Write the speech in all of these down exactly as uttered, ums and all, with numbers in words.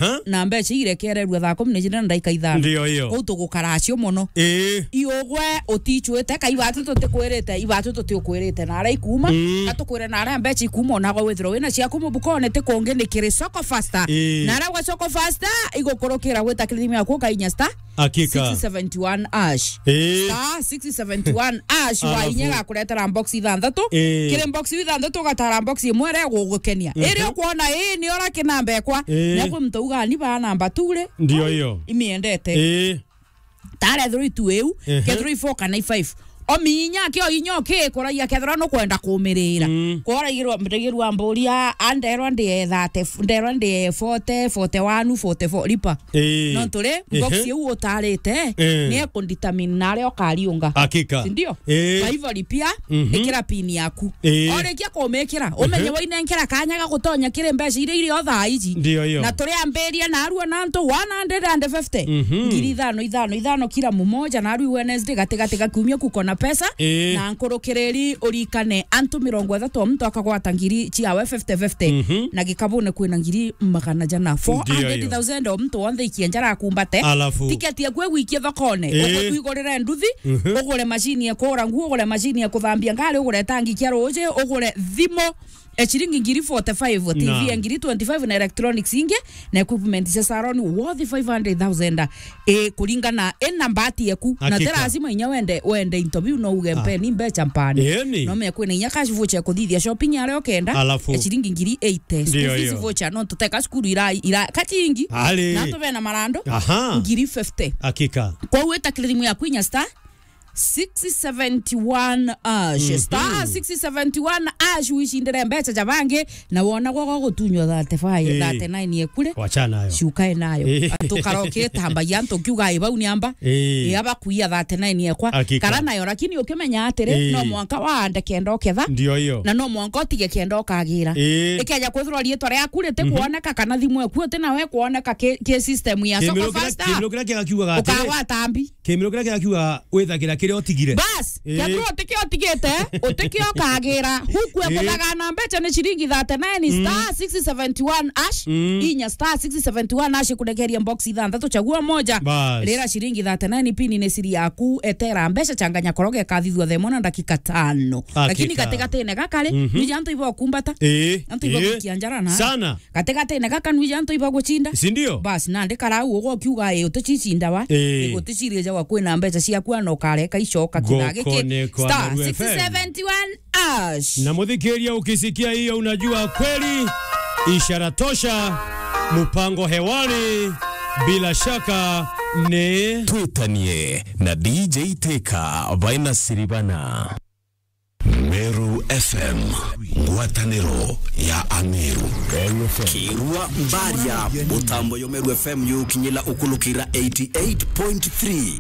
Huh? Na mbeca irekererua thaa kumi na ijiri na ndaika ithano. Ndio hiyo. Kuu tugukara acio mono. Ii. Iugwe utichwite, ka ibatu tutikwirite, ibatu tutiukwirite, na aria ikuma, mm, na tukwire na aria mbeca ikuma, onagwe withirwe wina ciaku mubukone, ti kungi ni kiri Soko Faster. Ii. Na aria gwa Soko Faster, igukurukira gwita kiri thimu yaku ukainya star Hakika. six seventy one ash. Ii. Star six seventy one ash, Alafu. wainya gakuretera box ithanthatu. Ii. Kiri box ithanthatu ugatara box imwe iria igugukenia. Mhm. Iria ukwona ii ni ora kinamba ekwa. Ii. Nagwe muntu uga ni ba namba two ri. Ndio hiyo. Imiendete. Ii. Tare three two iu, Ehe. ke three four kana i five. Ominya kio inya ukikuragia kethira nukwenda kumirira. Mm. Kworagirwa, ndirigirwa mburia, a nderwa ndi thirty, nderwa ndi forty, forty one, forty four, ripa. Ii. Nontu ri, box Ehe. iu utarite, Ii. ni ekundetermine na aria ukariunga. Hakika. Sindio? Ii. Kwa hivyo ripia, Mhm. ikira pin yaku. Ii. Orikia kumikira, umenye Ehe. wainenkera kanya ga gutonya kiri mbeca iria iri o thaa iji. Ndio hiyo. Na turiambiria na arua na antu one hundred and fifty. Mhm. Ngiri ithano, ithano, ithano kila mmoja, na arua Wednesday gati gati ga kiumia kuko na pesa. Ii. Na nkurukiriri urikane antu mirongo ithatu o muntu akagwata ngiri ciawe fifty fifty. Mhm. Na gikabune kwina ngiri magana jana. Ndio hiyo. Four hundred thousand o muntu wonthe ikie njara akumbate. Alafu. Tiketi yaku igwikie thokone. Ii. Ugwe wigurire nduthi, Mhm. ugure macini ya kuura nguo, ugure macini ya kuthambia ngari, ugure tangi kia ruuji, ugure thimu, e, ciringi ngiri forty five, T V Naam. ya ngiri twenty five na electronics ingi, na equipment cia salon worth five hundred thousand, e, kuringana, e, na mbati yaku. Na ti Hakika. lazima inya wende, wende into biu no uge Ah. mpeni mbeca mpani. Eni. No me kwina inya cash voucher ya kuthithia shopping aria ukenda, Alafu. ya ciringi ngiri eighty. School Ndio fees hiyo. voucher, no tuteka cukuru ira, ira, kachingi. Ali. Na antu bena marando, Aha. ngiri fifty. Hakika. Kwou wita kiri thimu yaku inya star six seventy one ash. Mhm. Star six seventy one ash, wicindire mbeca ja bangi, na wona gwa gutunywa thirty-five, Ii. thirty-nine ekure. Wachana nayo. Cukae nayo. Ii. Antu kara ukitambagia antu kiuga, "Ii, bau ni amba." Ii. Ii, aba kuia thirty-nine ekwa. Hakika. Kara nayo, lakini ukimenya atiri, Ii. no mwanka waande kenda uketha. Ndio hiyo. Na no mwanka utige kenda ukagira. Ii. Ikeja kwithirwa riitwa riaku riti Mhm. kuoneka kana thimu eku iti nawe kuoneka ki, ki system ya Soko Kimiro kira, Faster. Kimiro kira kigakiugaga atiri, Ukagwata mbi. Kimiro kiria kigakiuga withagira kiria utigire. Bas, Ii. kethira utikio utigite, utikio ukagira. Huku Ii. ekuthaga na mbeca ni ciringi thirty-nine Mm. star six seventy one ash, Mm. inya star six seventy one ash kurekeria box ithanthatu chagua moja. Bas. Rira ciringi thirty-nine pin ni siri yaku, etera mbeca changanya koroge kathithua themo na ndakika tano. Hakika. Lakini gatigatine gaka ri, Mhm. nija antu ibo kumbata. Ii. Antu ibo Ii. gukia njara na. Sana. Gatigatine gaka nwija antu ibagucinda. Si ndio? Bas, nandi karau ugo kiuga, "Ii, uticicinda wa? Ii. Ii, guticirie jagwa kwina mbeca ciaku, ana ukareka icoka kithaa giki." Goko ni kwa Star Meru F M. six seventy one ash. Na muthikiria, ukisikia hiyo, unajua kweli ishara tosha, mpango hewani, bila shaka ni Twitanie na D J Teka, Vaina Siribana. Meru F M, ngwataniro ya Ameru. Meru F M. Kirua Mbaria, mutambo yo Meru F M yukinyila ukulukira eighty eight point three.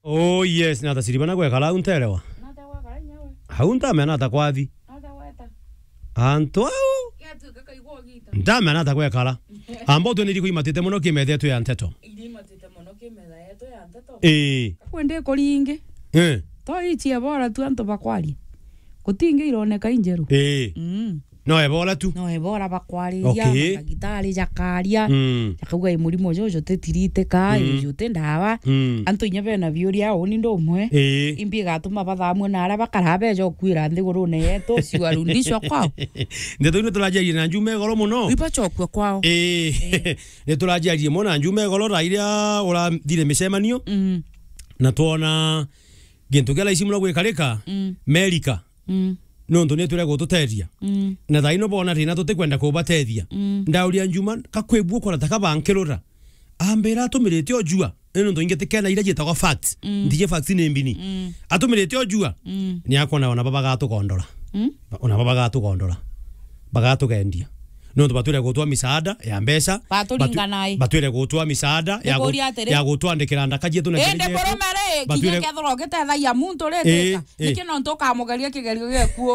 Oh yes, nata Siribana gwekara au nterewa. Nata gwakara nyawe. Au ntamena ata kwathi. Nata gweta. Antu au. Getu kakaigwa ogita. Ntamena ata gwekara. Amba utwe ni iriku imatite muno kimethetwe ya nteto. Iria imatite muno kimetha yetu ya nteto. Ii. Kakwe ndi kuringi. Eh. To ichi ebora tu antu bakwaria. Gutingi ironeka injeru. Ii. Mm. No ebora tu. No ebora bakwariria, Okay. Ndagitari jakaria, Mm. jakauga, "Ii, murimo juju juti tiritika, Mm. juju juti ndawa." Mm. Antu inya bena biuria, uni ndi umwe. Ii. Imbi igatuma bathamue na aria bakara beja ukwira nthigurune yetu, ciwarudishwa kwao. Ndeto ino turajaria na njuma igoro muno. Ibacokua kwao. Ii. Ii. Ni turajaria muno na njuma igoro, thaa iria urathire micemanio. Mm. Na twona gintu kia raici muno gwikarika, Mm. Merika. Mm. Nontu ni twire gututethia. Mm. Na thaa ino bona thina tutikwenda kubatethia. Mm. Ndauria Njuma, kakwibua ukona ta kabankirura. Ambira atumirite ujua. Ni nontu ingi tikena iria ciitagwa facts. Mm. Ntiji facts ni mbini. Mm. Atumirite ujua. Mm. Ni akona ona baba gatukondora. Mm. Ona baba gatukondora. Bagatugendia. Nontu batwire gutwa misaada ya mbeca. Baturingana Batu-, i. Batwire gutwa misaada ya gu-, Nikuria atiri? Ya gutwandikira ndaka cietu na Indi ciana cietu. Burume ri, Batwire kinya kethirwa ugitethagia muntu ri, Ii, teta. Ii. Niki nontu ukamugeria kigerio giaku?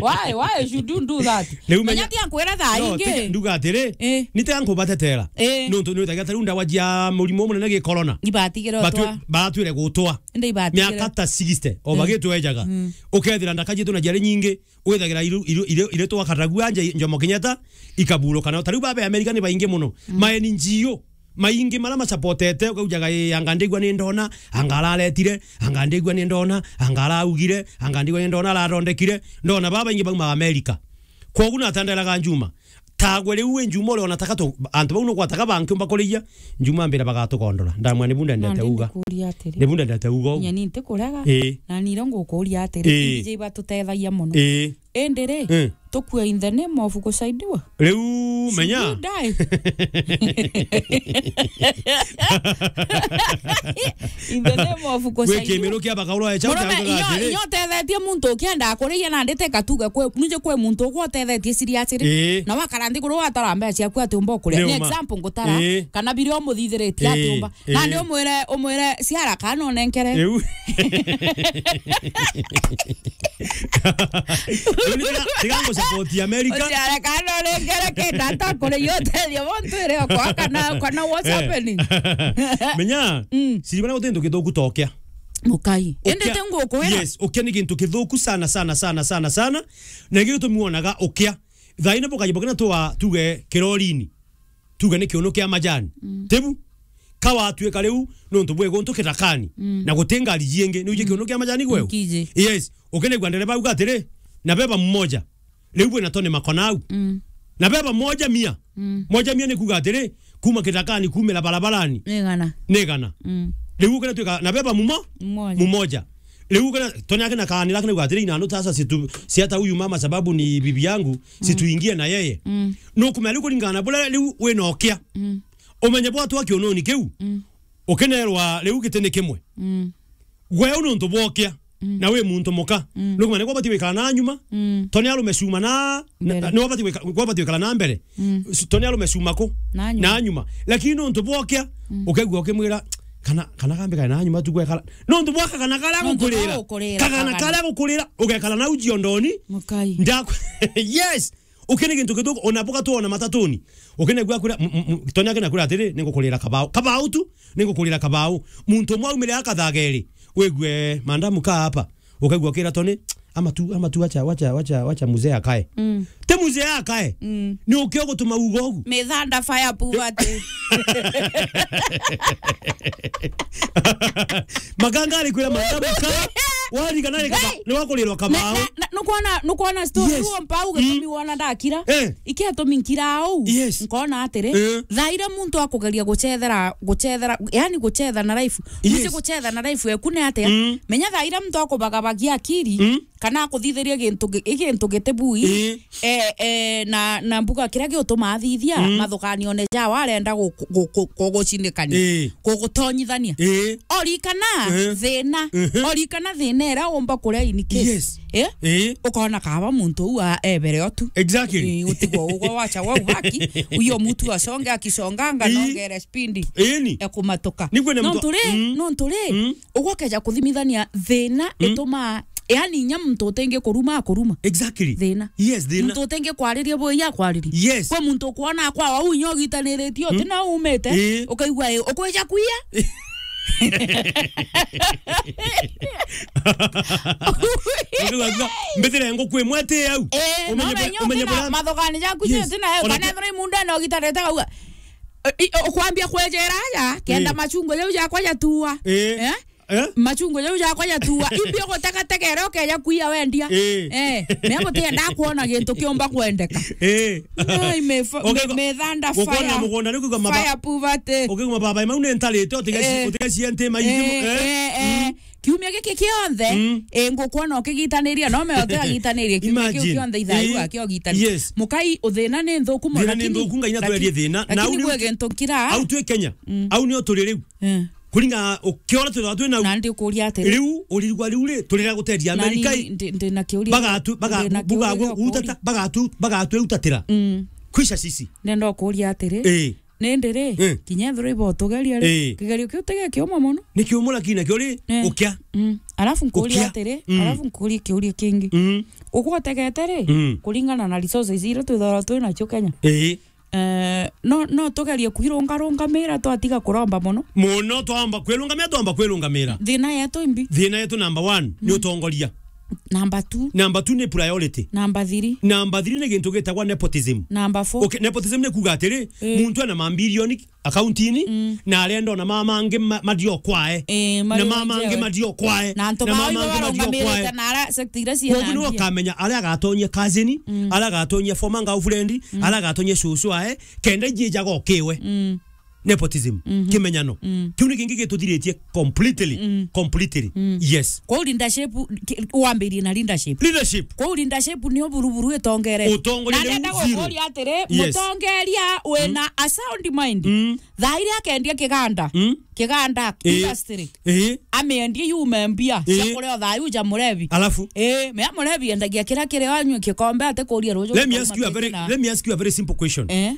Why, why should you do that? Riu menya Menya tia nkwira thaa No, ingi. Tiga nduga atiri, Ii. Ni tiga nkubatetera. Ii. Nontu ni witagia ta riu ndawa cia murimo munene gi corona. Ibatigire Batwi-, utwa. Batwire gutwa. Indi ibatigire. Miaka ta sixty, o Mm. bagitwejaga. Mm. Ukethira ndaka cietu na ciari nyingi, withagira iru, iru, iru, iru twakatagua nje Jomo Kenyatta, ikaburukana. Ta riu baba Amerika ni baingi muno. Mm. Ma N G O, maingi mara masapotete, ukaujaga, "Ii, anga ndigua ni ndona, anga araretire, anga ndigua ni ndona, anga araugire, anga ndigua ni ndona arathondekire." Ndona baba baingi bauma Amerika. Kwogu natanderaga Njuma. Tagwe riu wi Njuma uria onataka tu, antu bau nugwataga bankiumba kuriia, Njuma ambira bagatugondora. Ndamwira, "Nibu ndendete Nandi uga. Ndikuria atiri. Nibu ndendete uga ugu." Nyeni ntikurega. Ii. Na niro ngukuria atiri. Ii. Indi iba tutethagia muno. Ii. Indi ri, Ii. Tukue in the name of gusaidiwa? Riu menya. Should you die? In the name of Gwi gusaidiwa. Kimiru kia bakaurwa echa Murume, ukaruga inyo, atiri. Inyo utethetie muntu ukienda kuriia nandi teka tuge kwi, nuje kwi muntu ugwa utethetie siri atiri. Ii. Na wakara nthiguru watara mbeca ciaku ati umba ukuria. Ni Ni uma. Example ngutara. Ii. Kana biria umuthithiritie ati Ii. Umba. Ii. Nandi umwire, umwire ciara kana unenkere. Riu. Riu ni tiga, tiga ngu support America. Uciare kana unenkere kenda ata kuri yo tethio bo ntwire okwa kana, kana what's Eh. Happening? Menya, Mm. siri bana guti ntu githuku ta ukia. Mukai. Indi Ukia, ti ngukwira. Yes, ukia ni gintu githuku sana, sana, sana, sana, sana. Na ingi gitumi wonaga ukia. Thaina bukaji bukina twa tuge kirorini. Tuge ni kiuno kia majani. Mm. Tibu? Ka watuika riu, nontu bwi guntu kitakani, Mm. na guti ngari jingi, ni uje Mm. kiuno kia majani gweu? Nkiji. Yes. Ukinegua ndereba auga atiri, "Na beba mmoja." Riu bwina tone makona au. Mm. "Na beba moja mia." Mm. Moja mia ni kuga atiri, kuma kitakani, kumira barabarani. Ni igana. Ni igana. Mm. Riu ukina tuika, "Na beba mumo-, Mmoja. Mumoja." Riu kana, Tony akina kaanira akina gwatire inano tasa situ, siata huyu mama sababu ni bibi yangu, Mm. situingie na yeye. Mm. No kumenya riu kuringana na buria riu wina ukia. Mm. Umenye bwatwa kiunoni kiu. Mm. Ukinerwa riu giti ni kimwe. Mm. Gwe u nontu bwokia. Mm. Na wi muntu muka. Mm. No kumenya ni gwabati gwikara na nyuma. Mm. Tony arume cuma na, na, Mbere. Ni gwabati gwika-, gwabati gwikara na mbere. Mm. S-, Tony arume cuma ku? Na nyuma. Na nyuma. Lakini nontu bwokia, Mm. ukegua ukimwira, "Kana, kana kambe kana na nyuma tu gwekara." Nontu bwaka kana kara Nontu gukurira. Kara gukurira, Kagana kagana. Kara gukurira, ugekara na uji ondoni. Mukai. Ndaku-, yes. Ukene gintu githuku, ona buka tu ona matatuni. Ukene gwa kura, m-, m-, m-, Tony akena kura atiri, "Ningukurira kabao." Kabao tu, ningukurira kabao. Muntu umwe aumire akathageri. Wigue, "Mandamu kaa hapa." Ukaigua kira Tony, "Ama tu, ama tu, wacha, wacha, wacha, wacha mzee akae." Mm. Ti mzee akae. Mm. Ni ukio gutuma ugo ugu. Mithanda fire poverty. Maganga ari kwira mandamu ka, warigana rika Hey! Ni wakurirwa kamau. Na, na, na, nukwona, nukwona story Yes. Huo mpau Mm. Gitumi wona ndakira. Eh. Ikia tumi nkira au. Yes. Nkona atiri, Eh. Thaira muntu akugeria gucethera, gucethera, yani gucetha na life. Yes. Muci gucetha na life eku ni atia? Mm. Menya thaira muntu akubagabagia akiri. Mm. Kana akuthithiria gintu gi-, i gintu gitibui. Ii. Eh, eh, na, na mbuga kiria giutuma athithia, Mm. mathukanione jawa arenda gu-, gu-, gu-, kugucinikania. Ii. Kugutonyithania. Ii. Orikana Ehe. Thina. Ehe. Orikana thina iria umba kuria in case. Yes. Eh? Ii. Ukona kaba muntu uu a-, ebere otu. Exactly. Ii, utigwo ugwa wacha wa ubaki, uyo mutu asonge akisonganga Ii. Nongere speed. Ii ni. Ya kumatuka. Nigwe ne mtu- Nontu ri, Mm. Nontu ri, Mm. Ugokeja kuthimithania thina Mm. Itumaa, yani, inya muntu utengi kuruma akuruma. Exactly. Thina. Yes, thina. Muntu utengi kwariria bui akwariria. Yes. Kwi muntu ukwona akwa wau inya ugitaniritie uti Mm. Na umite, Ii. Ukaigua ii, ukwija kuia. Ukaigua, mbitire nguku imwe ti au. Ii, Umenye no bura-, menye umenye ukina bura-, mathogani jaku Yes. Uti na yo, Ona kana ke- ethira imundene ugitanite kauga, I-, i-, ukwambia kwejera aja, kenda Ii. Machungwa jau jakwa jatua. Ii. Eh? Eh? Machungwa jau jakwa jatua. Imbi ugutega tegere ukeja kuia wendia. Ii. Eh, me gutienda kuona gintu kiumba kwendeka. Ii. Ai, me fa-, Uke-, me-, methanda ukwona fire. Mugunda ni kuga maba-, Fire poverty. Ukiguma baba mau ni ntarite, utiga ci-, Eh. Utiga cia nti maithimu. Eh, Eh? Eh, eh. Mm. Kiumia giki kionthe, Mm. Eh, ngukwona ukigitaniria, no me ote agitanirie kiumia kiu Imagine. Kionthe ithayu Eh. Akio gitani. Yes. Mukai uthina ni nthuku muno, Thina ni lakini, nthuku, Ngai natwerie lakini, thina. Na lakini au ni gwe uki-, gintu nkira. Au twi Kenya. Mm. Au ni o turi riu. Eh. Kuringa ukiona twithagwa twi nau. Na ndikuria atiri. Riu uririgwa riu ri, turira guteria Amerika i. Ndi, ndi na kiuria. Bagatu-, baga-, Ndi na buga kiuria gu-, gukuri. Utata, bagatu-, bagatu utatira. Mm. Kwisha sisi. Ndenda ukuria atiri. Eh. Nindi ri, eh, kinya ethirwa ibotugeria ri, eh, kigerio kiu ti gikiuma mono. Ni kiumu lakini nakio ri, eh, ukia. Mm. Alafu nkuria ukia atiri, mm, alafu nkuria kiuria kingi. Mm. Ugwotegete ri, mm, kuringana na resources iria twithagirwa twi nacio Kenya. Eh. Eh, no, no tugerie kwirungarungamira twatiga kuromba mono. Mono twamba kwirungamira, twamba kwirungamira. Thina yetu imbi. Thina yetu number one ni, mm, utongoria. Number two. Number two ni priority. Number three. Number three ni gintu gitagwa nepotism. Number four. Okay, nepotism ni kuuga atiri, eh, muntu ena mambilioni akaunti-ini, mm, na arenda ona mama angi ma-, mathie o kwae. Eh, na mama angi mathie o kwae. Na antu bao ibo barungamirite na ara sector iria ciina mbia. Koguo niwe ukamenya aria agatonyia cousin, mm, aria agatonyia former girlfriend, mm, aria agatonyia cucu ae, kenda ijie ijaga okiwe. Mm. Nepotism, mhm, kimenyano. Mm. Kiu ni kingi gituthiritie completely, mm, completely. Mm. Yes. Kwou leadership, ki-, wambirie na leadership. Leadership. Kwou leadership nio buruburu itongere. Utongoria. Na niu ndenda zero. Gukuria atiri, yes, mutongeria wina, mm, a sound mind. Mm. Thaa iria akendia kiganda. Mm. Kiganda, eh, industry. Eh. Amiendie yume mbia, eh, cia kuria o thaa iu ja murebi. Alafu? Eh, mea murebi endagia kiria kiri o anyue kikombe atikuria ruju. Let me ask you a very, let me ask you a very simple question. Eh.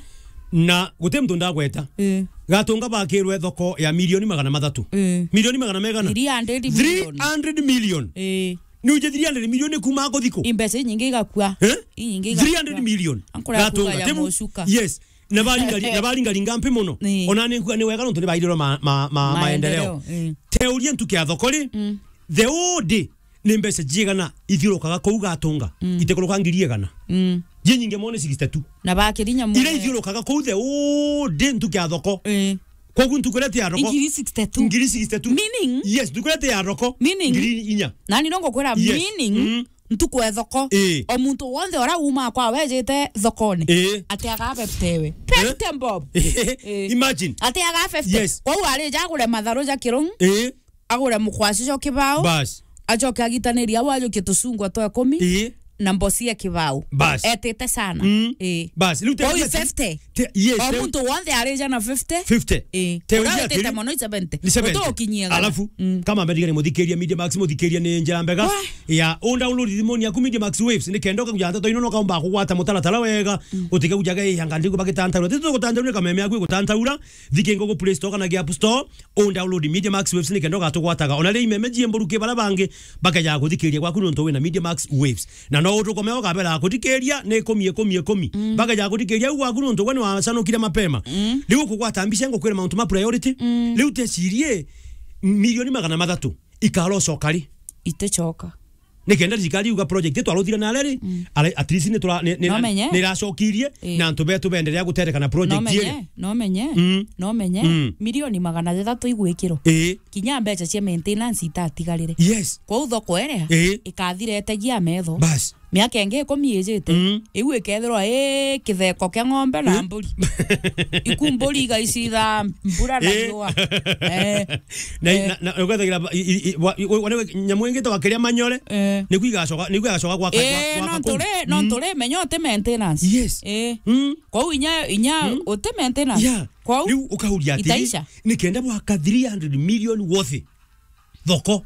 Na guti muntu ndagweta. Eh. Gatunga bakirwe thoko ya milioni magana mathatu. Eh. Milioni magana megana? Three hundred million. Three hundred million. Eh. Ni uje three hundred million ni kuma kuthiko? Imbeca inyingi igakua. Eh? Inyingi igakua. Three hundred million. Ankura Gatunga. Kuga ya mucuka. Yes. Na baringa-, na baringaringa mpi mono. Ni. Ona ni nkuga ni wega nontu ni bairirwe ma-, ma-, ma-, maendeleo. Maendeleo, eh. Teuria ntuke ya thoko ri, mm, the whole day ni mbeca cigana ithiurukaga kuu Gatunga? Mm. Itikuruka ngiri igana. Mm. Ji nyingi mono ni sixty-two. Na bakirinya mono. Iria ithiurukaga kuu the whole day ntuke ya thoko. Eh. Koguo ntuku iria ti ya thoko. Ngiri sixty-two. Ngiri sixty-two. Meaning? Yes, ntuku iria ti ya thoko. Meaning? Ngiri inya. Nani no ngukwira, yes, meaning? Mm. Ntuku e thoko. Ii. O muntu wonthe ura uumaa kwa wejite thokone, ii, atiaga fifty we. Eh? Fifty bob. Ii. Imagine. Atiaga fifty. Yes. Kwou arija agure matharu ja kirungu, ii, agure mukwaci jo kibao. Bas. Acoke agitanirie au ajukie tucungwa twa ikumi, ii, na mboci ya kibao. Bas. Etite sana. Mm. Ii. Bas. Riu te-, kwou te-, fifty. Te-, yes, o te-, muntu wonthe arija na fifty. Fifty. Ii. Te-, uria witite mono ni seventy. Ni seventy. Utukinyie ga. Alafu, mm, kama mbere ni muthikiria Media Max, muthikiria ni njira mbega. Wah. Ya, undownload thimuni yaku Media Max Waves, ni kenda ukaguja ndeto ino, no kaumba kugwata mutaratara wega, mm, utike kujaga, "Ii, anga ndiku bagitantaura." Tito gutantaura, ni kameme yaku igutantaura, thikinga ugu Play Store kana gi App Store, undownload Media Max Waves, ni kenda ugatugwataga. Ona ri imeme jie mburuki bara bangi, bakeja kuthikiria gwaku nontu wina Media Max Waves. Na no utukome ukabera kuthikiria ni ikumi, ikumi, ikumi. Mm. Bakeja kuthikiria u gwaku nontu we ni wacanukire mapema. Mm. Riu kugwata mbica ngukwira mauntu ma priority. Mm. Riu tecirie milioni magana mathatu. Ikara ucoka ri? Iticoka. Ni kenda thirikari yuga project itwaruthire na reri, mm, ara-, at least ni tura-, ni, ni, no menye, ni iracokirie, ii, na antu betu benderea gutereka na project, no menye, iri. No menye, mm, no menye, mm, milioni magana jathatu igwikirwo. Ii. Kinya mbeca cia maintenance itatigarire. Yes. Kwou thoko iria, ii, ikathira itagia metho. Bas. Miaka ingi ikumi ijite, mm, iu ikethirwa i kitheko kia ng'ombe na, ii, mburi. Iku mburi igaicitha mbura na, ii, riua. Eh. Na, eh, na, na, ugethagira ba-, i, i, i, wa-, i, wa-, nyamu ingi twakiria manyore, eh, niku igacoka, niku igacoka gwaka, eh, gwa-, gwaka no kuu. Turi, no, mm, turi menya uti maintenance. Yes. Eh. Mm. Kwou inya, inya, mm, uti maintenance. Yeah. Kwou riu ukauria atiri, itaisha, ni kenda bwaka three hundred million worth thoko.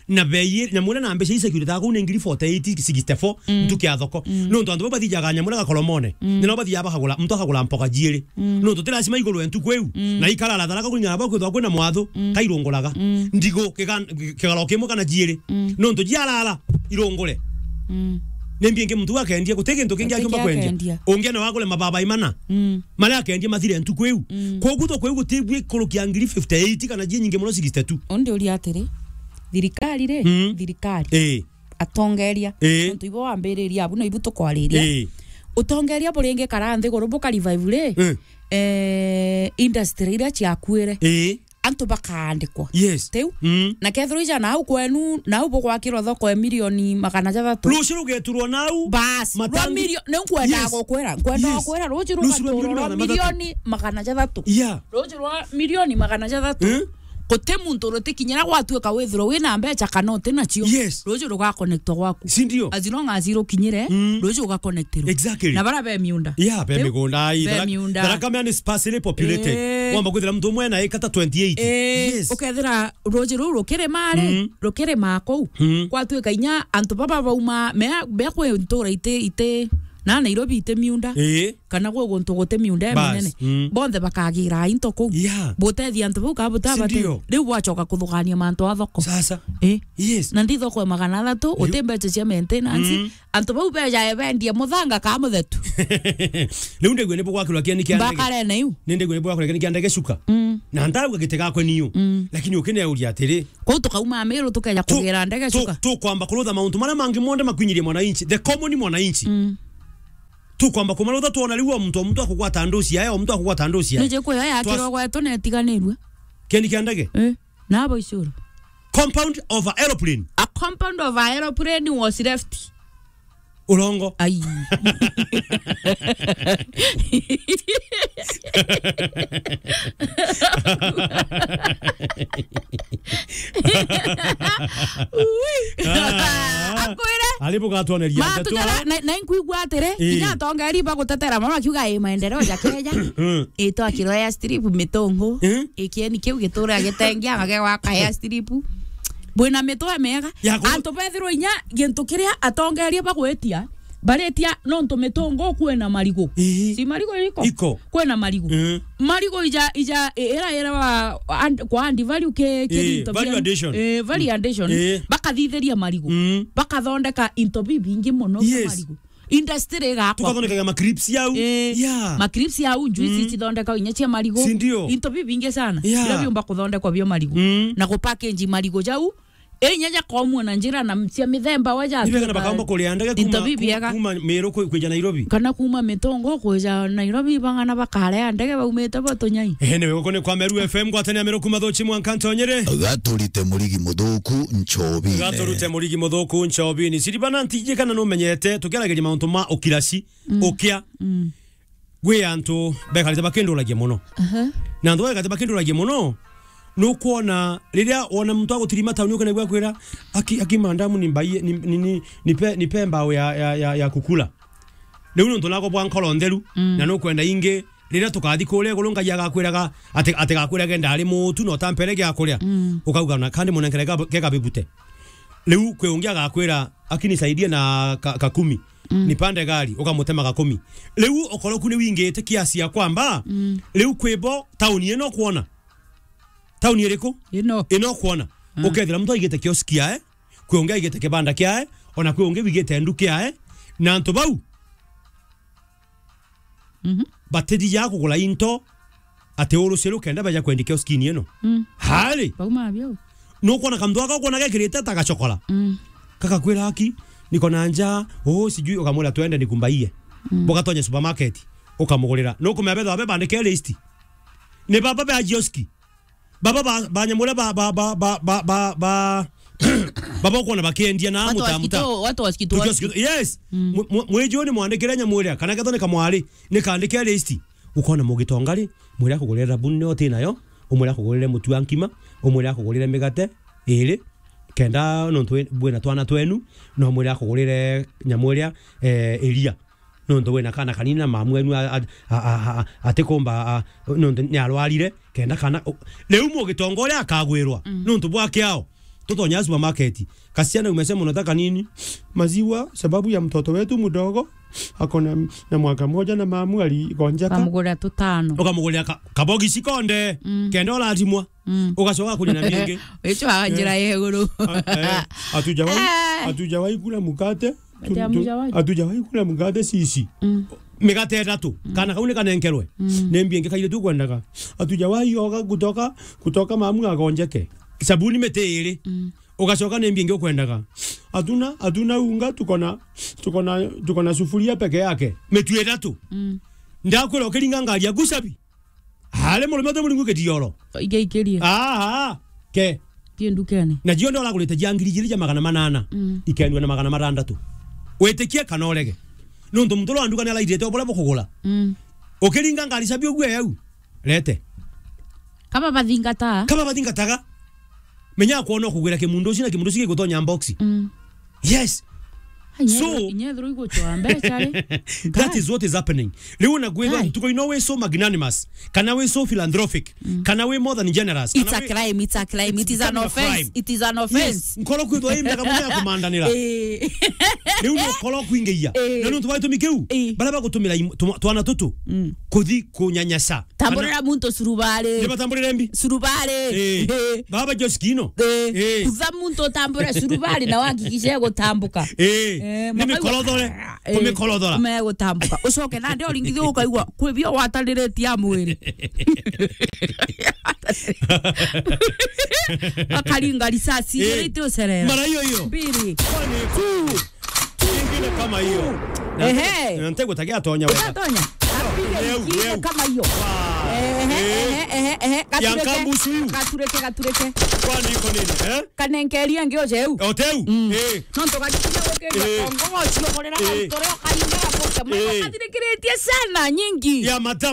Na bei, na muna na mbeca ici cirutaga kuu ni ngiri forty-eight, sixty-four, mm, ntuku ya thoko. Mm. Nontu antu bau bathijaga nyamura gakoromone. Mm. Ni no bathijaga bakagura, muntu akagura mpoga jiiri. Mm. Nontu ti lazima igurwe ntuku iu. Mm. Na ikarara tharaka kuringana na bau kwithagwa kwina mwathu, mm, kairunguraga. Mm. Ndigu, kigan-, kigaro kimwe kana jiiri. Mm. Nontu jiarara, irungure. Mm. Ni mbingi muntu akendia, guti gintu kingi akiumba kwendia. Ungi no agure mababai mana. Mm. Maria akendia mathire ntuku iu. Mm. Kwogu thoko iu guti bwi kurukia ngiri fifty-eight kana jie nyingi muno sixty-two. Undi uria atiri, thirikari ri, mm, thirikari, ii, atongeria, ii, nontu ibo wambiriria abu na ibu tukwariria. Ii. Utongeria buringikara nthiguru buka revive ri, mm, eh, industry iria ciakuire. Ii. Antu bakaandikwa. Yes. Tiu? Mm. Na kethirwa ija nau kwenu, nau bugwakirwa thoko ya milioni magana jathatu. Rucio rugeturwa nau. Bas, rwa matangi-, milio-, ni nkwenda, yes, gukwira, nkwenda, yes, gukwira, rucio rucio rwa rugaturwa milioni rwa magana mathatu. Milioni magana jathatu. Yeah. Rucio rwa milioni magana jathatu. Eh? Guti muntu rutikinyira gwatuika withirwa wina mbeca kana uti nacio. Yes. Rucio rugakonektwa gwaku. Si ndio? As long as irukinyire, mm, rucio ugakonektirwa. Exactly. Na bara be miunda. Yeah, be, tiu? Migunda, ai, be Tharaka, miunda. Tharaka Mea ni sparsely populated. Eh. Wamba kwithira muntu umwe ena eka ta twenty-eight. Eh, yes. Ukethira ruuji ruu rukirima ri, mm, rukirima kuu. Mm. Gwatuika inya antu baba bauma, mea, mea kwi ntura iti, iti, Na Nairobi iti miunda. Ii. Kana gwi guntu guti miunda iminene. Bas, mm. Bonthe bakagira into kuu. Yeah. Butethia antu bau ka butabate. Sindio? Riu bwacoka kuthugania mantu a thoko. Sasa. Ii. Yes. Na ndi thoko ya magana athatu, uti mbeca cia maintenance. Mm. Antu bau bejae bendie muthanga ka muthetu. Riu ndigwe ni bugwakirwa kieni kia ndege. Mbakare na iu. Ni ndigwe ni bugwakirwa kieni kia ndege cuka. Mm. Na ndauga giti gakwe niu. Mm. Lakini ukineuria atiri. Kwou tukauma Meru tukeja kugira ndege cuka. Tukwamba kurutha mauntu maria mangi monthe makwinyirie mwananchi. The common mwananchi. Mm. Tukwamba kumarutha twona riu o muntu o muntu akugwata nduci yae, o muntu akugwata nduci yae. Nije kuyo yakirwa gwetu na itiganirue. Kieni kia ndege? Eh. Nabo icuru. Compound of a aeroplane. A compound of a aeroplane was left. Urongo. Ai. Ui. Ah. Akwire. Ari bugatwoneria ndeto. Matukara, na, na inkwigua atiri, ii, kinya atongeri bagutetera mono akiuga, "Ii, maendeleo ja Kenya." Mm. Ii, twakirwa airstrip Mitungu. Mm. Ii, kieni kiu gitura gitengia, mage gwaka airstrip. Bwina mitwe miega. Ya ku- Antu bethirwa inya gintu kiria atongeria bagwitia, baritia nontu Mitungu kwina marigu. Ii. Si marigu iko? Iko. Kwina marigu. Mm. Marigu ija, ija, i-, ira, ira wa, and-, kwa Andy value ke, ke ii, into value bia-, addition. Eh, value addition. Ii. Bakathithiria marigu. Mm. Bakathondeka into bibingi mono bia, yes, marigu. Industry igakwa. Tukathondekaga ma crisps yau. Eh, yeah. Ma crisps yau, juice, mm, cithondekagwa inya cia marigu. Si ndio? Into bibingi sana. Yeah. Biria biumba kuthondekwa bio marigu. Mm. Na ku package marigu jau. Eh, inya jakomwa na njira na cia mithemba wa ja. Ni bega na bakaumba kuria ndege into kuma, bibiega, kuma Meru ku-, kwija Nairobi. Kana kuma Mitungu kwija Nairobi, bang'ana bakaria ndege baumite bo Tunyai. Eh, ni wego kuni kwa Meru F M, ngwatanira Meru kuma Thuchi mwanka Ntonyere. Gaturite murigi muthuku nchobine. Gaturute murigi muthuku nchobine. Siribana ntiji kana numenyete, tukiaragiria mauntu ma ukiraci, mm, ukia. Mm. Gwi antu bekarite bakinduragia mono. Aha. Na antu bekarite bakinduragia mono, nukwona riria wona muntu agutirima tauni, ukenegua akwira, "Aki, aki, madam, ni mbaie, ni, ni, ni, nipe, nipe mbao ya, ya, ya, ya kukula." Riu nontu nako bwa nkoro ntheru, mm, na nukwenda ingi, riria tukathi kuria iguru, Ngai agakwiraga ati, atigakwirage ndari mutu na utampere gia kuria. Mm. Ukauga, "Na kandi munenkere ga, ge gabibute." Riu kwi ungi agakwira, "Aki, nisaidie na ka, ka kumi." Mm. Nipande gari, ukamutema ga kumi. Riu ukoroku ni wingite kiasi ya kwamba, mm, riu kwi bo tauni ino kwona. Tauni iriku? Ino. Ino kwona. Mm. Ukethira muntu aigite kioski yae, kwi ungi aigite kibanda kiae, ona kwi ungi wigite nduka yae, na antu bau, mhm, batithia kugura into ati uruciru kenda baja kwendia kioskini ino. Mm. Hari? Bauma bio. Nukwona kantu gaka ukwona gekirite ta gacokora. Mm. Kakakwira, "Aki, niko na njaa, oh, sijui," ukamwira, "Twende nikumbaie." Mm. Bugatonye supermarket, ukamugurira. Nukumenya betha babe bandike list. Ni baba ba kioski. Baba ba, ba nyamura ba, ba, ba, baba ukwona bakiendia na watu wa mutambuta. Sikito, watu wa sikito. Tukiwa sikito. Yes. Mm. Mwe-, mwe-, mweji ni mwandikire nyamura, kana ketho ni kamwari, ni kandike list. Ukona mugitonga ri, mwire akugurire thabuni niyo uti nayo, umwire akugurire mutu wa nkima, umwire akugurire migate iri, kenda nontu wi-, bwina twana twenu, no mwire akugurire nyamu iria, eh, iria. Nontu wina kana kanini na mamu wenu a-, a-, a-, a-, a-, atikumba, a-, nontu ni arwarire, kenda kana, u-, riu mugitonga uria akagwirwa, mm, nontu bwa kiao. Tutonya supermarket. Kasichana umesema unataka nini? Maziwa, sababu ya mtoto wetu mdogo, ako na, na mwaka moja na mamu aligonjeka. Ukamugurira tutano. Ukamugurira ka-, kabogisi konde, mm, kenda urathimwa. Mm. Ugacoka kuria na mingi. Wicho wa njira ya iguru. Eh. A-, eh, hatujawahi, eh, hatujawahi kula mkate. Ati tu-, tu-, hamujawahi? Hatujawahi kula mkate sisi. Mm. Migate ithatu. Mm. Kana kau ni kanenkerwe. Mm. Ni mbia ingi kaire tu kwendaga. Hatujawahi oga kutoka, kutoka mamu agonjeke. Sabuni miti iri. Mm. Ugacoka ni mbia ingi ukwendaga. Hatuna, hatuna unga, tuko na, tuko na, tuko na sufuria peke yake. Mitu ithatu. Mm. Ndakwira ukiringa ngari yaku cabi. Ari murume uti muringu kitioro. Igaikirie. Aha, ke. Tie ndukene. Na cionthe uragurite cia ngiri igiri cia magana manana. Mm. Ikendua na magana matandatu. Witikie kana urege. Nontu muntu uria wa nduka ni araithirite o buria bukugura. Mm. Ukiringa ngari cabi ugue yau. Rete. Kaba bathingata. Kaba bathingataga. Menya kwona ukugwira kimundu ucio na kimundu ucio gigutonya box. Mm. Yes. So, inyethirwo igucwa mbeca ri. That is what is happening. Riu na gwithwa ntuko ino wi so magnanimous, kana wi so philanthropic, kana wi more than generous, it's a crime, it's a crime, it is an offense, it is an offense. Nkoro kwithwa i mega muno ya kumandanira. Eh. Riu no koro kwingeia. Eh. Na nuntu wa gitumi kiu, eh, bara bagutumira im-, tuma-, twana tutu, mm, kuthi kunyanyasa. Tamburira muntu surubari. Ni batamburire mbi? Surubari. Eh. Eh. Baba Joskino. Eh. Eh. Kutha muntu utambure surubari na wahakikishe gutambuka. Eh. Eh, ni mikorothore. Eh. Kumikorothora. Ume gutambuka. Ucoke nandi uringithie ukaigua kwi bio watariritie a mwiri. Akaringa risasi, eh, ite ucerera. Mara hiyo hiyo. Mbiri. Kwani tu. Ingine kama hiyo. Ehe. Na ntegutagia tonya wega. Utatonya. Apiga ingine kama hiyo. Ehe, ehe, ehe, ehe. Ya gatureke, nkamusu yu. Gatureke, gatureke. Kwani iko nini, eh? Kanenkeria ngi uceu. Oteu? Mm. Eh. No ntugakinya gukiria, eh, kongo gocio kurira, eh, ntore okainga gakuke. Eh. Mwana kathirikiritie sana nyingi. Ya mata.